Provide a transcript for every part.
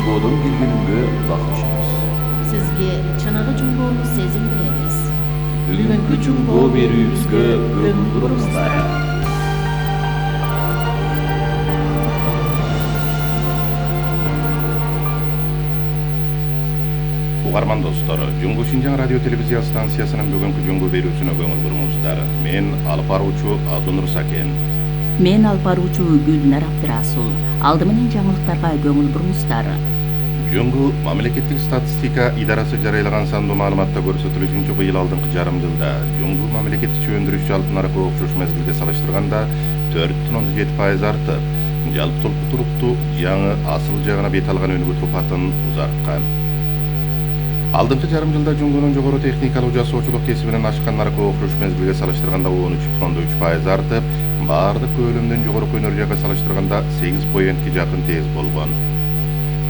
жумбодон келгенимге бактышабыз. Сизге чыныгы жумбоону сезим беребиз. Бүгүнкү жумбоо берүүбүзгө көңүл бурыңуздар. Угарман достор, Жумбу Шинжаң радио телевизия станциясынын бүгүнкү жумбу берүүсүнө көңүл буруңуздар. Мен алып баруучу Абдунур Сакен. Мен алып баруучу Гүлнар Абдырасул. Алды менен жаңылыктарга көңүл буруңуздар. Жумбу мамлекеттик статистика идарасы жарыялаган сандуу маалыматта көрсөтүлүшүнчө быйыл алдыңкы жарым жылда жумбу мамлекеттик өндүрүш жалпы наркы окшош мезгилге салыштырганда 4,7% артып, жалпы толку туруктуу жаңы асыл жагына бет алган өнүгүү турпатын узарткан. Алдыңкы жарым жылда жумбунун жогору техникалык жасоочулук кесибинен ашкан наркы окшош мезгилге салыштырганда 13,3% артып, баардык көлөмдөн жогорку энергияга салыштырганда 8%га жакын тез болгон.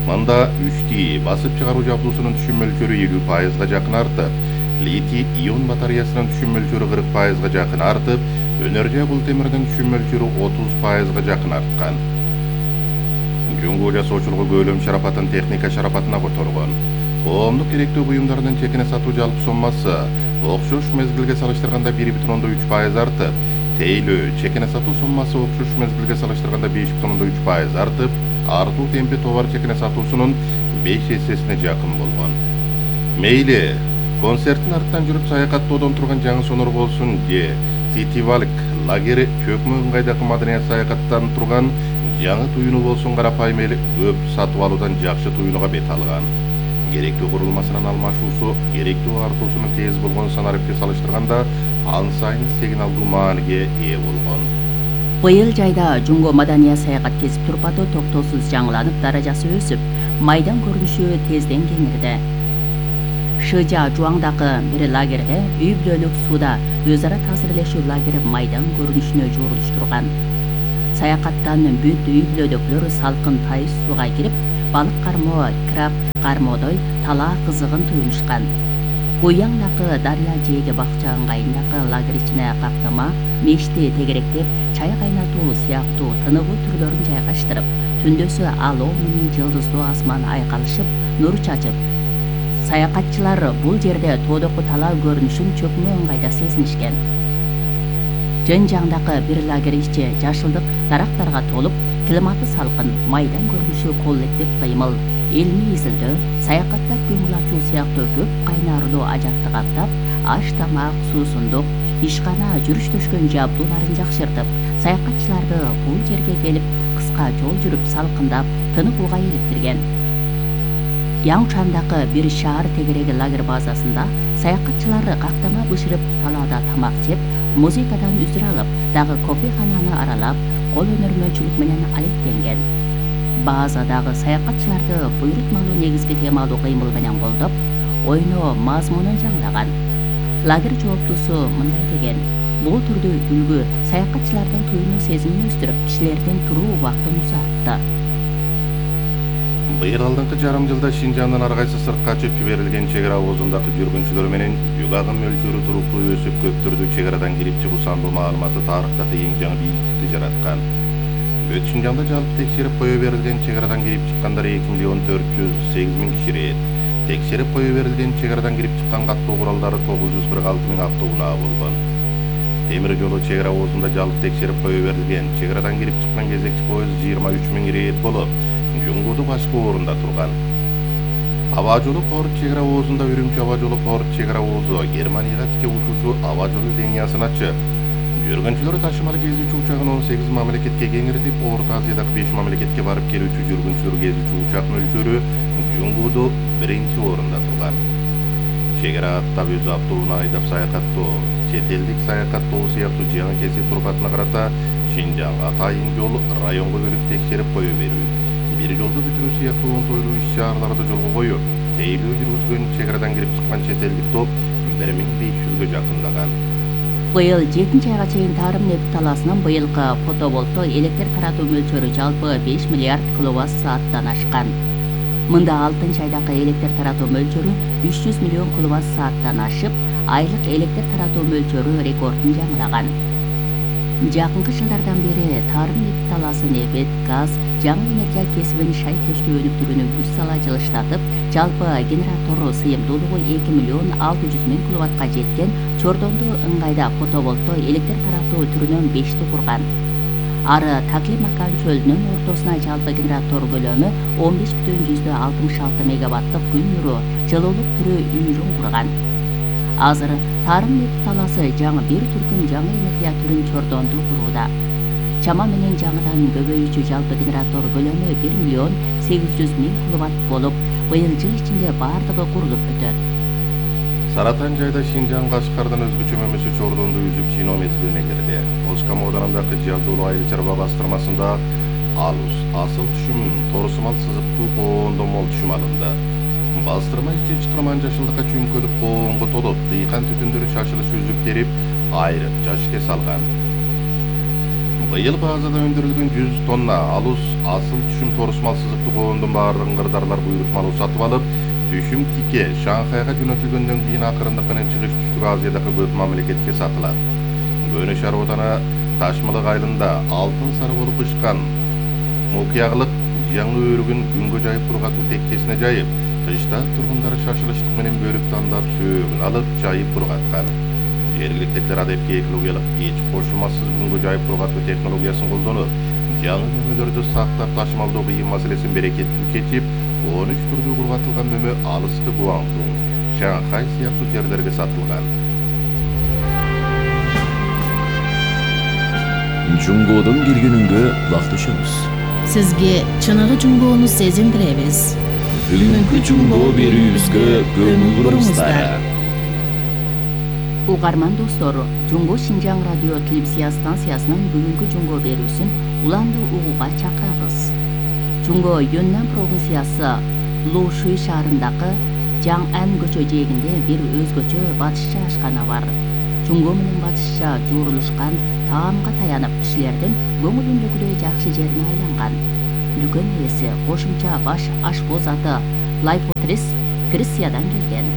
Мында 3T басып чыгаруу жабдуусунун түшүм мөлчөрү 50%га жакын артып, литий ион батареясынын түшүм мөлчөрү 40%га жакын артып, энергия бул темирдин түшүм мөлчөрү 30%га жакын арткан. Жумбу жасоочулугу көлөм шарапатын техника шарапатына которгон. Коомдук керектүү буюмдардын чекине сатуу жалпы соммасы окшош мезгилге салыштырганда 1,3% артып, тейлөө чекине сатуу соммасы окшош мезгилге салыштырганда 5,3% артып, артуу темпи товар чекине сатуусунун 5 эсесине жакын болгон. Мейли, концерттин артынан жүрүп саякаттоодон турган жаңы сонор болсун же Ситивалк лагери чөкмө ыңгайдагы маданият саякаттан турган жаңы туюну болсун, карапайым эл көп сатып алуудан жакшы туюнуга бет алган. Керектүү курулмасынын алмашуусу керектүү артуусунун тез болгон санарыпке салыштырганда ан сайын сигналдуу мааниге ээ болгон. Быйыл жайда жумбу маданият саякат кесип турпаты токтоосуз жаңыланып, даражасы өсүп, майдан көрүнүшү тезден кеңирди. Шыжа Жуаңдагы бир лагерде үй бүлөлүк сууда өз ара таасирлешүү лагери майдан көрүнүшүнө жуурулуштурган. Саякаттан бүт үй бүлөдөгүлөр салкын тайыз сууга кирип, балык кармоо, краб кармоодой талаа кызыгын туюнушкан. Гуяңдагы дарыя жээге бакча ыңгайындагы лагерь ичине каптама, мешти тегеректеп, чай кайнатуу сыяктуу тыныгуу түрлөрүн жайгаштырып, түндөсү алоо менен жылдыздуу асман айкалышып, нур чачып, саякатчылар бул жерде тоодоку талаа көрүнүшүн чөкмө ыңгайда сезинишкен. Жөн-жаңдагы бир лагерь ичи жашылдык дарактарга толуп, климаты салкын, майдан көрүнүшү коллектив кыймыл, илмий изилдөө, саякаттап көңүл ачуу сыяктуу көп кайнарлуу ажатты каптап, аш тамак, суусундук, ишкана, жүрүш төшкөн жабдууларын жакшыртып, саякатчыларды бул жерге келип, кыска жол жүрүп, салкындап, тыныгууга иликтирген. Яңшандагы бир шаар тегереги лагерь базасында саякатчылар кактама бышырып, талаада тамак жеп, музыкадан үзүр алып, дагы кофехананы аралап, кол өнөрмөнчүлүк менен алектенген. Базадагы саякатчыларды буйрутмалуу негизги темалуу кыймыл менен колдоп, ойноо мазмунун жаңылаган. Лагерь жооптусу мындай деген: бул түрдүү үлгү саякатчылардын туюну сезимин өстүрүп, кишилердин туруу убактын узартты. Быйыл алдыңкы жарым жылда Шинжаңдын ар кайсы сыртка ачып жиберилген чек ара оозундагы жүргүнчүлөр менен жүк агым мөлчөрү туруктуу өсүп, көп түрдүү чек арадан кирип чыгуу сандуу маалыматы тарыхтагы эң жаңы бийиктикти жараткан. Бүт Шинжаңда жалпы текшерип кое берилген чек арадан кирип чыккандар 2,408,000 киши. Текшерип кое берилген чек арадан кирип чыккан каттоо куралдары 946,000 автоунаа болгон. Темир жолу чек ара оозунда жалпы текшерип кое берилген чек арадан кирип чыккан кезекчи поезд 23,000 рейд болуп, Жуңгуду башкы орунда турган. Аба жолу порт чек ара оозунда Үрүмчү аба жолу порт чек ара оозу Германияга тике учуучу аба жолу линиясын ачып, жүргүнчүлөр ташымалы кезүүчү учагын 18 мамлекетке кеңиртип, Орто Азиядагы 5 мамлекетке барып келүүчү жүргүнчүлөр кезүүчү учак мөлчөрү Жуңгуду биринчи орунда турган. Чек ара аттап өз автоунаа айдап саякаттоо, чет элдик саякаттоо сыяктуу жаңы кесип турпатына карата Шинжаң атайын жол районго бөлүп текшерип кое берүү, бир жолду бүтүрүү сыяктуу оңтойлуу иш-чараларды жолго коюп, тейлөө жүргүзгөн чек арадан кирип чыккан чет элдик топ 1500гө жакындаган. Быйыл 7 айга чейин Тарым нефт талаасынын быйылкы фотоволттоо электр таратуу мөлчөрү жалпы 5 миллиард киловатт сааттан ашкан. Мында 6 айдагы электр таратуу мөлчөрү 300 миллион киловатт сааттан ашып, айлык электр таратуу мөлчөрү рекордун жаңылаган. Жакынкы жылдардан бери Тарым нефт талаасы нефт, газ, жаңы энергия кесибин шайкештөө өнүктүрүүнү күч сала жылыштатып, жалпы генератор сыйымдуулугу 2.600.000 киловаттка жеткен Чордонду ыңгайда фотоволттоо электр таратуу түрүнөн 5ти курган. Ары Таклимакан чөлүнүн ортосуна жалпы генератор көлөмү 15,66 мегаваттык күн нуру жылуулук түрү үйрүн курган. Азыр тарым нефт талаасы жаңы бир түркүм жаңы энергия түрүн Чордонду курууда. Чама менен жаңыдан көбөйүүчү жалпы генератор көлөмү 1.800.000 киловатт болуп, быйыл жыл ичинде бардыгы курулуп бүтөт. Саратан жайда Шинжаң Кашкардан өзгөчө мөмөсү Чордонду үзүп чиноо мезгилине кирди. Оскам ауданындагы Жабдулла Айыл чарба бастырмасында алус, асыл түшүм, торусумал сызыктуу коондо мол түшүм алынды. Бастырма ичи 20 жашылдыкка чүмкөлүп коонго толуп, дыйкан түтүндөрү шашылыш үзүп терип, айрып жашке салган. Быйыл базада өндүрүлгөн 100 тонна алус, асыл түшүм, торусумал сызыктуу коондун баардыгын кырдаарлар буйрутмалуу сатып алып, түшүм тике Шанхайга жөнөтүлгөндөн кийин акырындык менен чыгыш түштүк Азиядагы көп мамлекетке сатылат. Көнө шаар ооданы Ташмалык айылында алтын сары болуп ышкан мукуяглык жаңы өрүгүн күнгө жайып бургатуу тектесине жайып, кышта тургундар шашылыштык менен бөлүп тандап сөөгүн алып жайып бургаткан. Жергиликтүүлөр адепке экологиялык эч кошулмасыз күнгө жайып бургатуу технологиясын колдонуп, жаңы мөмөлөрдү сактап ташымалдоо кыйын маселесин берекеттүү чечип, 13 түрдүү бургатылган мөмө алыскы Гуандун, Шанхай сыяктуу жерлерге сатылган. Жунгодун киргенүнгө кулак түшөбүз. Сизге чыныгы жунгоону сезиндиребиз. Бүгүнкү жунгоо берүүбүзгө көңүл буруңуздар. Угарман достор, Жунго Шинжаң радио телевизия станциясынын бүгүнкү жунгоо берүүсүн уланды угууга чакырабыз. Жунго Юннан провинциясы Лушуй шаарындагы Жаңан көчө жээгинде бир өзгөчө батышча ашкана бар. Жунго менен батышча жуурулушкан таамга таянып, кишилердин көңүлүндөгүдөй жакшы жерине айланган. Дүкөн ээси кошумча баш ашпоз аты Лайфотрис Грециядан келген.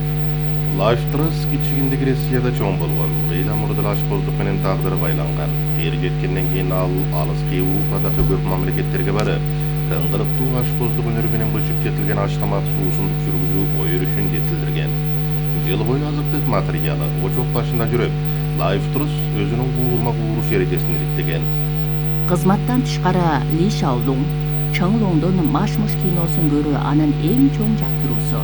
Лайфтрас кичигинде Грецияда чоң болгон. Ыйла мурдал ашпоздук менен тагдыры байланган. Эр жеткенден кийин ал алыс Европадагы көп мамлекеттерге барып, тыңгылыктуу ашпоздук өнөрү менен бышып жетилген аш тамак суусундук жүргүзүү ой өрүшүн жетилдирген. Жыл бою азыктык материалы очок башында жүрүп, Лайфтрас өзүнүн куурма кууруш эрежесин иликтеген. Кызматтан тышкары Ли Шаолун Чыңлоңдун маш-муш киносун көрүү анын эң чоң жактыруусу.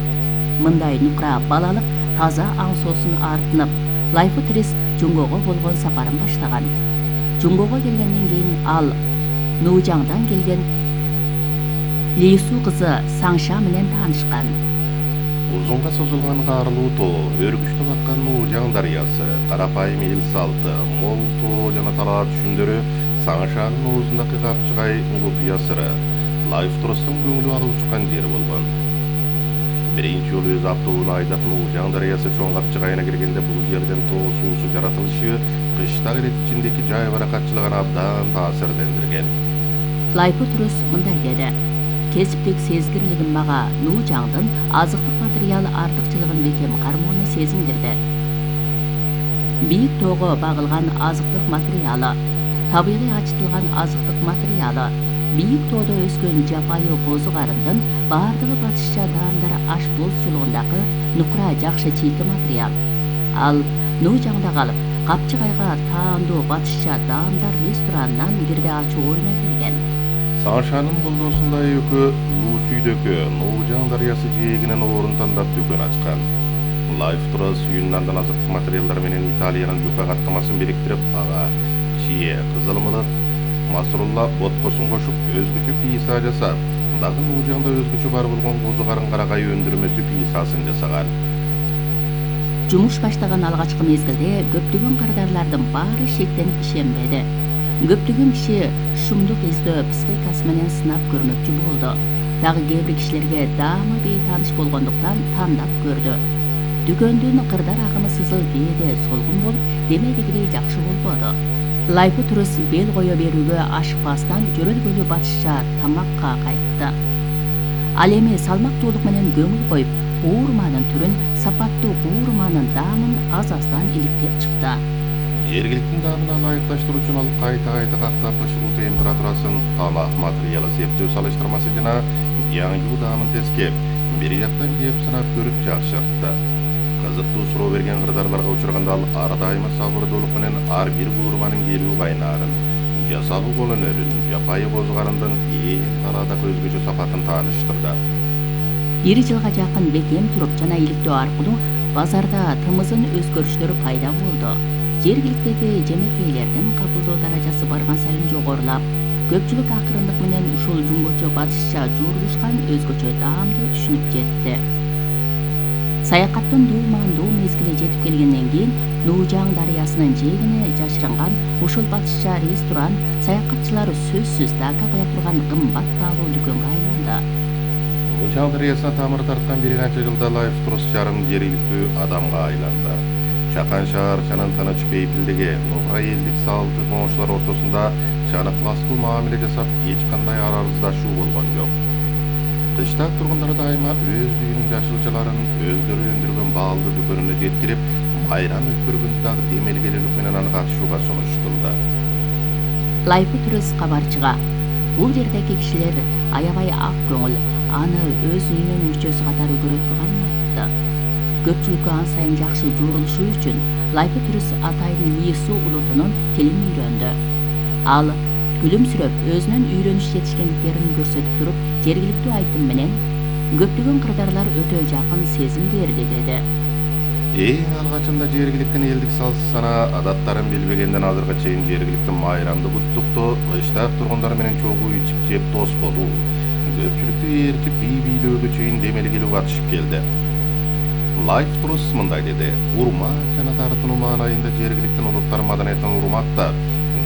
Мындай нукра балалык таза аң соосун артынып, Лайфотрис Жунгого болгон сапарын баштаган. Жунгого келгенден кийин ал Нужаңдан келген Лису кызы Саңша менен таанышкан. Узунга созулган каарлуу тоо, өргүчтүп аккан Нужаң дарыясы, карапайым эл салты, мол тоо жана талаа түшүмдөрү, Саңшанын оозундагы капчыгай купуя сыры, Лайфтрастын көңүлү алып учкан жери болгон. Биринчи жолу өз автобусун айдап Нужаң дарыясы чоң капчыгайына киргенде бул жерден тоо суусу жаратылышы кышта ирет ичиндеки жай баракатчылыгына абдан таасирлендирген. Лайфотрис мындай деди: кесиптик сезгирлигим мага Нужаңдын азыктык материал артыкчылыгын бекем кармоону сезиндирди. Бийик тоого багылган азыктык материалы, табигый ачытылган азыктык материалы, бийик тоодо өскөн жапайы козу карындын баардыгы батышча даамдар ашпозчулугундагы нукра жакшы чийки материал. Ал Нужаңда калып, капчыгайга таандуу батышча даамдар ресторанынан бирде ачуу оюна келген. Саңшанын колдоосунда экөө Лусүйдөгү Нужаң дарыясы жээгинен орун тандап дүкөн ачкан. Лайфтрас Юннандан азыктык материалдар менен Италиянын жука каттамасын бириктирип, ага чие, кызылмылык, масрулла боткосун кошуп өзгөчө писа жасап, дагы Нужаңда өзгөчө бар болгон козу карын карагай өндүрмөсү писасын жасаган. Жумуш баштаган алгачкы мезгилде көптөгөн кардарлардын баары шектенип ишенбеди. Көптөгөн киши шумдук издөө психикасы менен сынап көрмөкчү болду. Дагы кээ бир кишилерге даамы бейтааныш болгондуктан тандап көрдү. Дүкөндүн кырдар агымы сызыл кээде солгун болуп, демедигидей жакшы болбоду. Лайфотрис бел кое берүүгө ашыкпастан жөрөлгөлүү батышча тамакка кайтты. Ал эми салмактуулук менен көңүл коюп, куурманын түрүн, сапаттуу куурманын даамын аз-аздан иликтеп чыкты. Жергиликтин даамына ылайыкташтыруу үчүн ал кайта кактап ышылуу температурасын, тамак материалы септөө салыштырмасы жана жаңылуу даамын тескеп, бир жактан жеп сынап көрүп жакшыртты. Кызыктуу суроо берген кырдаарларга учурганда ал ар дайыма сабырдуулук менен ар бир куурманын келүү кайнаарын, жасалуу колөнөрүн, жапайы козгарындын эң талаадагы өзгөчө сапатын тааныштырды. Бир жылга жакын бекем туруп жана иликтөө аркылуу базарда тымызын өзгөрүштөр пайда болду. Жергиликтеги жемекейлердин кабылдоо даражасы барган сайын жогорулап, көпчүлүк акырындык менен ушул жунгочо батышча жуурулушкан өзгөчө даамды түшүнүп жетти. Саякаттын дуумандуу мезгили жетип келгенден кийин Нуужаң дарыясынын жээгине жашырынган ушул батышча ресторан саякатчылар сөзсүз дака кыла турган кымбат баалуу дүкөнгө айланды. Нуужаң дарыясына тамыр тарткан бир канча жылда Лайф Трус жарым жергиликтүү адамга айланды. Чакан шаарчанын тыныч бейпилдиги, нобра элдик салты коңшулар ортосунда чаныкластуу мамиле жасап, эч кандай арыздашуу болгон жок. Кыштак тургундар дайыма өз үйүнүн жашылчаларын өздөрү өндүргөн баалды дүкөнүнө жеткирип, майрам өткөргөндө дагы демелгелүүлүк менен аны катышууга сунуш кылды. Лайф Трус кабарчыга бул жердеги кишилер аябай ак көңүл, аны өз үйүнүн мүчөсү катары көрө турганын айтты. Көпчүлүккө ан сайын жакшы жуурулушу үчүн Лайф Трус атайын Лису улутунун тилин үйрөндү. Ал күлүмсүрөп өзүнүн үйрөнүш жетишкендиктерин көрсөтүп туруп, жергиликтүү айтым менен көптөгөн кырдаарлар өтө жакын сезим берди деди. Эң алгачында жергиликтин элдик салт сана адаттарын билбегенден азыркы чейин жергиликтин майрамды куттуктоо, кыштак тургундар менен чогуу ичип жеп дос болуу, көпчүлүктү ээрчип бий бийлөөгө чейин демелгелүү катышып келди. Лайф Трус мындай деди: урмат жана тартынуу маанайында жергиликтин улуттар маданиятын урматтап,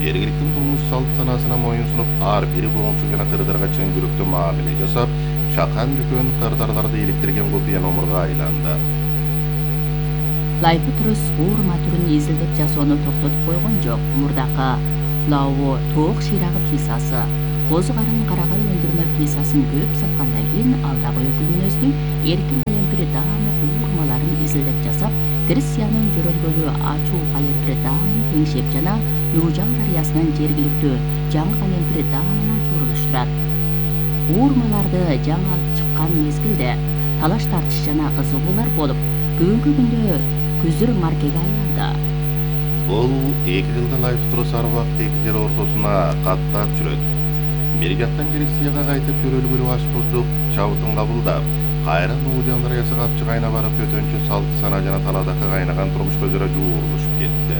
жергиликтин турмуш салт санасына моюн сунуп, ар бир коңшу жана кырдарга чын жүрөктүү мамиле жасап, чакан дүкөн кырдаарларды иликтирген купуя номурга айланды. Лайф Трус куурма түрүн изилдеп жасоону токтотуп койгон жок. Мурдакы лаво тоок шыйрагы пиццасы, козу карын карагай өндүрмө пиццасын көп саткандан кийин ал дагы өкүлмүнөздүн эркин калемпир даамы куурмаларын изилдеп жасап, Грекиянын жөрөлгөлү ачуу калемпир даамын теңшеп жана Нуужаң дарыясынын жергиликтүү жаңы калемпир даамына жуурулуштурат. Куурмаларды жаңы алып чыккан мезгилде талаш тартыш жана кызыгуулар болуп, бүгүнкү күндө күзүр маркеге айланды. Бул 2 жылда Лайф Трус ар убакыт эки жер ортосуна каттап жүрөт. Бир жактан Грекияга кайтып көрөлгүлүү ашпоздук чабытын кабылдап, кайра Нуужаң дарыясы капчы кайна барып өтөнчү салт сана жана таладагы кайнаган турмушка өзара жуурулушуп кетти.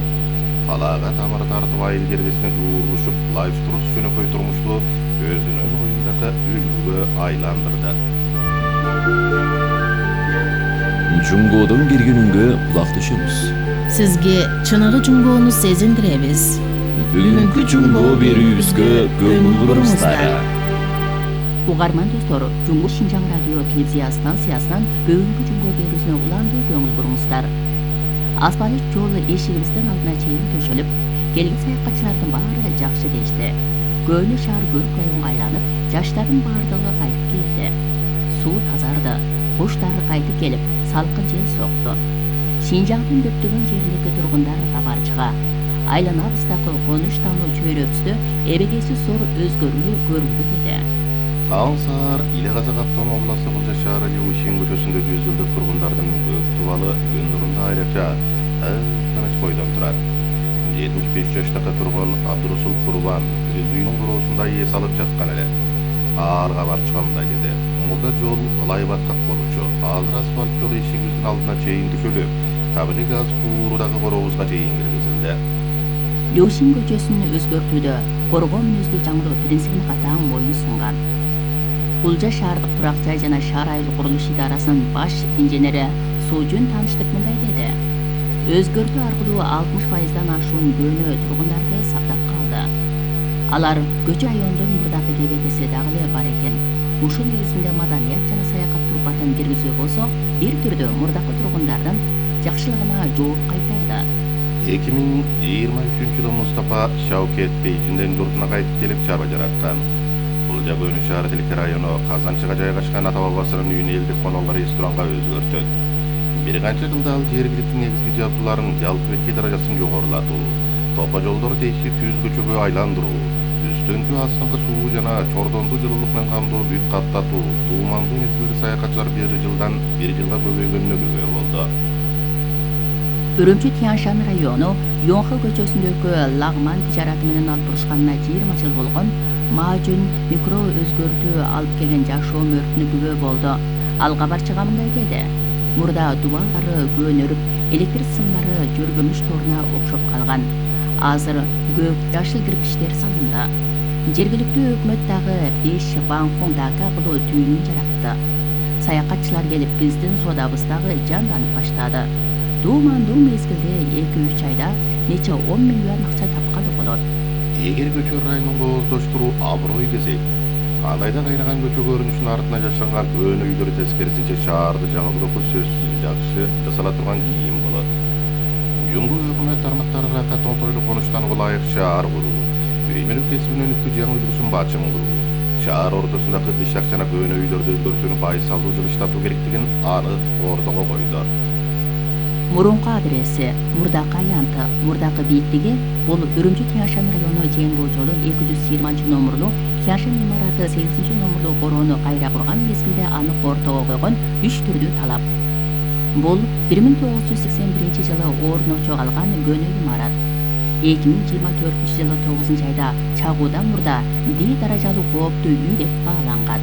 Талаага тамыр тартып айыл жергесине жуурулушуп, Лайф Трус жөнөкөй турмушту өзүнүн оюндагы үлгүгө айландырды. Жунгодун бир күнүнгө кулак түшүңүз. Сизге чыныгы жунгоону сезиндиребиз. Бүгүнкү жунго берүүбүзгө көңүл буруңуздар. Угарман достор, Жунгур Шинжаң радио телевизия станциясынан бүгүнкү жунго берүүсүнө уландуу көңүл буруңуздар. Асфальт жол эшигибиздин алдына чейин төшөлүп, келген саякатчылардын баары жакшы дешти. Көөнү шаар көрүк районго айланып, жаштардын баардыгы кайтып келди. Суу тазарды, куштар кайтып келип, салкын жел сокту. Шинжаңдын көптөгөн жериндеги тургундар кабарчыга айланабыздагы конуш таануу чөйрөбүздө эбегейсиз зор өзгөрүү көрүлдү деди. Таң саар Иле-Казак автомобиласы Кулжа шаары Леушин көчөсүндө 100 жылдык тургундардын көп тубалы күн нурунда айрыкча тыныч бойдон турат. 75 жаштагы тургун Абдурасул Курбан өз үйүнүн короосунда эс алып жаткан эле. Ар кабарчыга мындай деди: мурда жол ылай баткак болчу. Азыр асфальт жол эшигибиздин алдына чейин түшөлүп, табиғи газ куурудагы корообузга чейин киргизилди. Леушин көчөсүн өзгөртүүдө коргоо мүнөздүү жаңылоо принцибине катаң моюн сунган. Кулжа шаардык турак жай жана шаар айыл курулуш идарасынын баш инженери Суужун Таныштык мындай деди: өзгөртүү аркылуу 60%дан ашуун көөнө тургундарды сактап калды. Алар көчө райондун мурдакы кебекеси дагы эле бар экен. Ушул негизинде маданият жана саякат турпатын киргизүү болсо, бир түрдө мурдакы тургундардын жакшылыгына жооп кайтарды. 2023-жылы Мустапа Шаукет Бейжинден журтуна кайтып келип чарба жараткан. Кулжа көөнү шаары Тилке району Казанчыга жайгашкан ата бабасынын үйүн элдик конолго ресторанга өзгөртөт. Бир канча жылда ал жергиликтүү негизги жабдууларын жалпы бетки даражасын жогорулатуу, топо жолдорду тегиштүү түз көчөгө айландыруу, үстүңкү астыңкы суу жана чордондуу жылуулук менен камдоо бүт каттатуу туумандуу мезгилде саякатчылар бир жылга көбөйгөнүнө күбө болду. Үрүмчү Тяньшан району Йонхэ көчөсүндөгү лагман тижараты менен алып бурушканына 20 жыл болгон Маажүн микро өзгөртүү алып келген жашоо өртүнө күбө болду. Ал кабарчыга мындай деди: мурда дубалдары көнөрүп, электр сымдары жөргөмүш торуна окшоп калган. Азыр көк жашыл кирпичтер салынды. Жергиликтүү өкмөт дагы 5 Банхун Дака кылуу түйүнүн жаратты. Саякатчылар келип биздин соодабыз дагы жанданып баштады. Туумандуу мезгилде 2-3 айда нече 10 миллион акча тапканы болот. Эгер көчө районун кооздоштуруу аброй десек, андайда кайнаган көчө көрүнүшүнүн артына жашанган көөнө үйлөр тескерисинче шаарды жаңылдоого сөзсүз жакшы жасала турган кийим болот. Жумгу өкмөт тармактары ракат оңтойлуу конуштанууга ылайык шаар куруу, үй мүлк кесибинин өнүктүү жаңы үлгүсүн бачым куруу, шаар ортосундагы кыйшак жана көөнө үйлөрдү өзгөртүүнү байсалдуу жылыштатуу керектигин анык ортого койду. Мурунку адреси Мурдакы аянты, Мурдакы бийиктиги бул Үрүмчү Тяньшан району Жеңбо жолу 220 номерлуу Тяньшан имараты 8 номерлуу короону кайра курган мезгилде анык ортого койгон 3 түрдүү талап. Бул 1981 жылы орночо калган көнө имарат. 2024 жылы 9 айда чагуудан мурда D даражалуу кооптуу үй деп бааланган.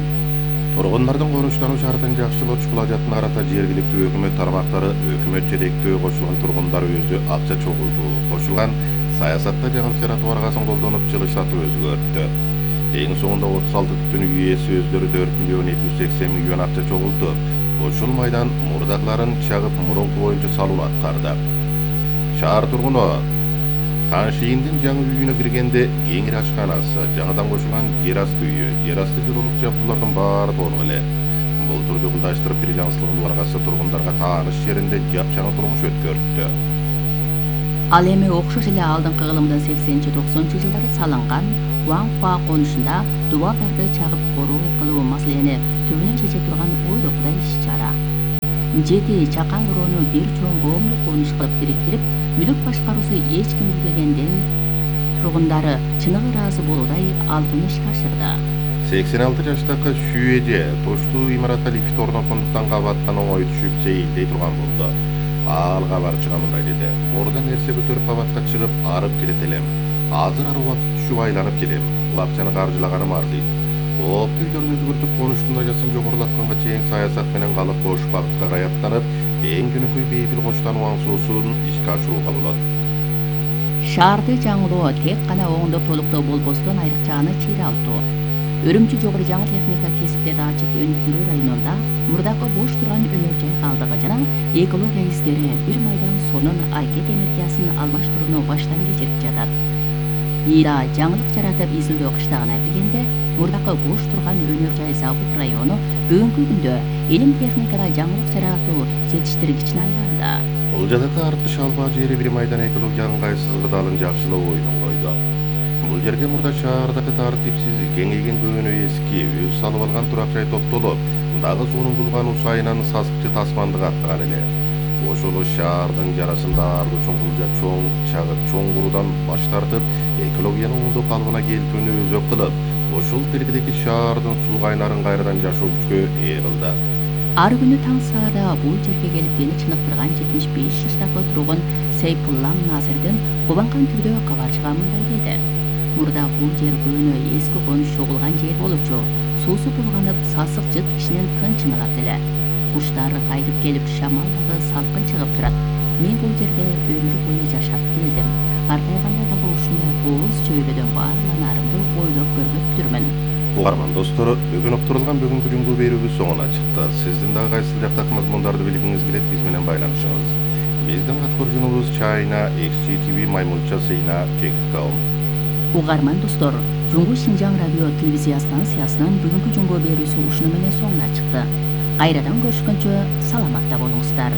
Тургундардын конуштануу шартын жакшылоо чукулажатына карата жергиликтүү өкмөт тармактары өкмөт жетектөө кошулган тургундар өзү акча чогултуу кошулган саясатта жаңылык жаратуу аргасын колдонуп жылыштатуу өзгөрттү. Эң соңунда 36 түтүн үй ээси өздөрү 4.280 миллион акча чогултуп, ушул майдан мурдагыларын чагып мурунку боюнча салууну аткарды. Шаар тургуну Таншииндин жаңы үйүнө киргенде кеңири ашканасы, жаңыдан кошулган жер асты үйү, жер асты жылуулук жабдуулардын баары толук эле. Бул түрдү кылдаштырып Биржан аргасы тургундарга тааныш жеринде жапжаңы турмуш өткөрттү. Ал эми окшош эле алдыңкы кылымдын 80-90 жылдары салынган Уаңхуа конушунда дубалдарды чагып короо кылуу маселени түбүнөн чече турган ойлокудай иш-чара. 7 чакан короону бир чоң коомдук конуш кылып бириктирип, мүлүк башкаруусу эч ким билбегенден тургундары чыныгы ыраазы болуудай албын ишке ашырды. 86 жаштагы Шүйеже тоштуу имаратка лифт орноткондуктан кабаттан оңой түшүп сейилдей турган болду. Ал кабарчыга мындай деди: мурда нерсе көтөрүп кабатка чыгып арып кетет элем. Азыр ар убакыт түшүп айланып келем. Бул акчаны каржылаганым арзыйт. Кооптуу үйлөрдү өзгөртүп конуштун даражасын жогорулатканга чейин саясат менен калып бош багытка каяттанып, эң жөнөкөй бейпил конуштануу аңсоосун ишке ашырууга болот. Шаарды жаңылоо тек гана оңдоп толуктоо болбостон айрыкча чире алуу. Үрүмчү жогору жаңы техника кесиптерди ачып өнүктүрүү районунда мурдакы бош турган өнөр жай калдыгы жана экология издери бир майдан сонун аракет энергиясын алмаштырууну баштан кечирип жатат. Ийда жаңылык жаратып изилдөө кыштагына киргенде мурдакы бош турган өнөр жай завод району бүгүнкү күндө илим техникада жаңылык жаратуу жетиштиргичине айланды. Кулжадагы арткы шалбаа жери бир майдан экологиянын ыңгайсыз кырдаалын жакшылоо оюнун койду. Бул жерге мурда шаардагы тартипсиз кеңейген көөнө эски өз салып алган турак жай топтолуп, дагы суунун булган усайынан сасыкчы тасмандык аттаган эле. Ошол шаардын жарасын даарылоо үчүн кулжа чоң чагып чоң куруудан баш тартып, экологияны оңдоп калыбына келтүүнү өзөк кылып, ошол тилгидеги шаардын суу кайнарын кайрадан жашоо күчкө ээ кылды. Ар күнү таң саада бул жерге келип дени чыныктырган 75 жаштагы тургун Сейпуллам Назирдин кубанган түрдө кабарчыга мындай деди: мурда бул жер көөнө эски конуш чогулган жер болчу. Суусу булганып, сасык жыт кишинин тынчын алат эле. Куштар кайтып келип, шамал дагы салкын чыгып турат. Мен бул жерде өмүр бою жашап келдим. Картайганда дагы ушундай кооз чөйрөдөн баарланарымды ойлоп көрбөптүрмүн. Угарман достор, бүгүн уктурулган бүгүнкү жүнгү берүүбүз соңуна чыкты. Сиздин дагы кайсы жактагы мазмундарды билгиңиз келет, биз менен байланышыңыз. Биздин аткаруучубуз china@xgtv.my.cina.com. Угарман достор, Жуңгу Шинжаң радио телевизия станциясынын бүгүнкү жүнгү берүүсү ушуну менен соңуна чыкты. Кайрадан көрүшкөнчө саламатта болуңуздар.